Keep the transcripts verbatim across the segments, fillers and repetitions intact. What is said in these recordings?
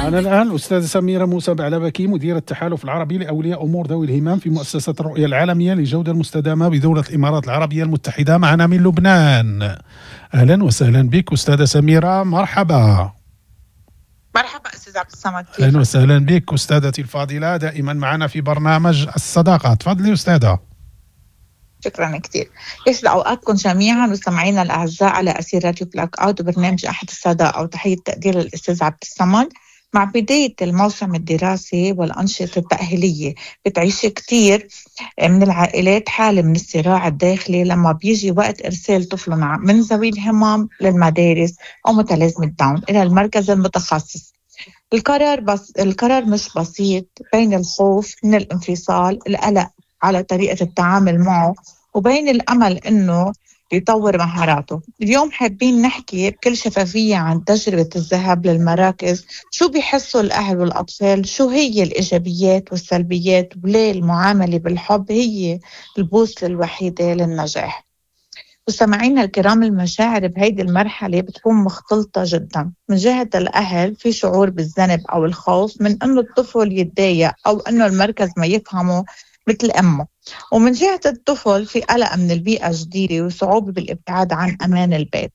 معنا الآن الأستاذة سميرة موسى بعلبكي، مديرة التحالف العربي لأولياء أمور ذوي الهمم في مؤسسة الرؤية العالمية للجودة المستدامة بدولة الإمارات العربية المتحدة، معنا من لبنان. أهلا وسهلا بك أستاذة سميرة، مرحبا. مرحبا أستاذ عبد الصمد. أهلا وسهلا بك أستاذتي الفاضلة، دائما معنا في برنامج الصداقة. تفضلي أستاذة. شكرا كثير. يسعد اوقاتكم جميعا مستمعينا الاعزاء على اثير راديو بلاك اوت وبرنامج احد الصداقه، وتحية تقدير للاستاذ عبد الصمد. مع بداية الموسم الدراسي والأنشطة التأهيلية بتعيش كثير من العائلات حالة من الصراع الداخلي لما بيجي وقت إرسال طفل من ذوي الهمم للمدارس أو متلازمة داون إلى المركز المتخصص. القرار بس القرار مش بسيط، بين الخوف من الانفصال، القلق على طريقة التعامل معه، وبين الأمل إنه يطور مهاراته. اليوم حابين نحكي بكل شفافية عن تجربة الذهاب للمراكز، شو بيحسوا الأهل والأطفال، شو هي الإيجابيات والسلبيات، وليه المعاملة بالحب هي البوصلة الوحيدة للنجاح. مستمعينا الكرام، المشاعر بهيدي المرحلة بتكون مختلطة جدا. من جهة الأهل في شعور بالذنب أو الخوف من أنه الطفل يتضايق أو أنه المركز ما يفهمه مثل أمه، ومن جهة الطفل في قلق من البيئة الجديدة وصعوبة بالابتعاد عن أمان البيت.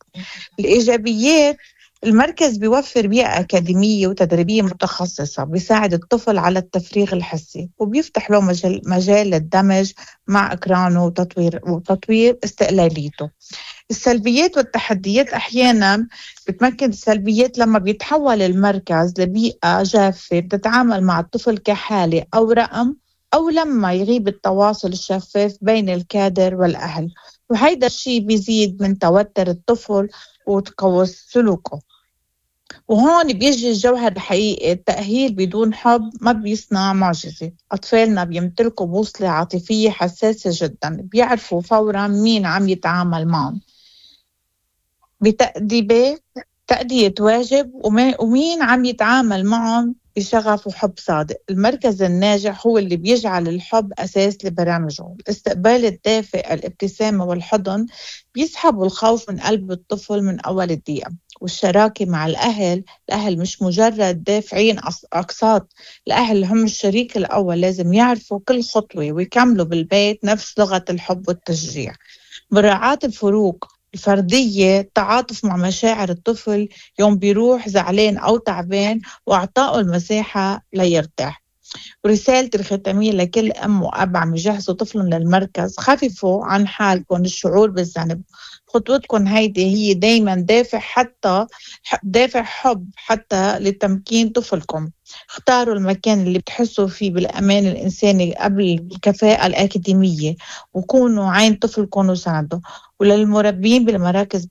الإيجابيات، المركز بيوفر بيئة أكاديمية وتدريبية متخصصة، بيساعد الطفل على التفريغ الحسي وبيفتح له مجال, مجال للدمج مع أقرانه وتطوير, وتطوير استقلاليته. السلبيات والتحديات، أحيانا بتمكن السلبيات لما بيتحول المركز لبيئة جافة بتتعامل مع الطفل كحالة أو رقم، أو لما يغيب التواصل الشفاف بين الكادر والأهل، وهيدا الشيء بيزيد من توتر الطفل وتقوس سلوكه. وهون بيجي الجوهر الحقيقي، التأهيل بدون حب ما بيصنع معجزة. أطفالنا بيمتلكوا بوصلة عاطفية حساسة جدا، بيعرفوا فورا مين عم يتعامل معهم بتأديبه تأدية واجب، ومين عم يتعامل معهم بشغف وحب صادق. المركز الناجح هو اللي بيجعل الحب أساس لبرامجه. الاستقبال الدافئ، الابتسامة والحضن بيسحبوا الخوف من قلب الطفل من أول الدقيقة. والشراكة مع الأهل، الأهل مش مجرد دافعين أقساط، الأهل هم الشريك الأول، لازم يعرفوا كل خطوة ويكملوا بالبيت نفس لغة الحب والتشجيع. مراعاة الفروق الفردية، التعاطف مع مشاعر الطفل يوم بيروح زعلان أو تعبان، وإعطائه المساحة ليرتاح. ورسالتي الختامية لكل أم وأب عم يجهزوا طفلهم للمركز، خففوا عن حالكم الشعور بالذنب. خطوتكم هيدي هي دايما دافع حتى دافع حب حتى لتمكين طفلكم. اختاروا المكان اللي بتحسوا فيه بالأمان الإنساني قبل الكفاءة الأكاديمية، وكونوا عين طفلكم وساعدوا. وللمربين بالمراكز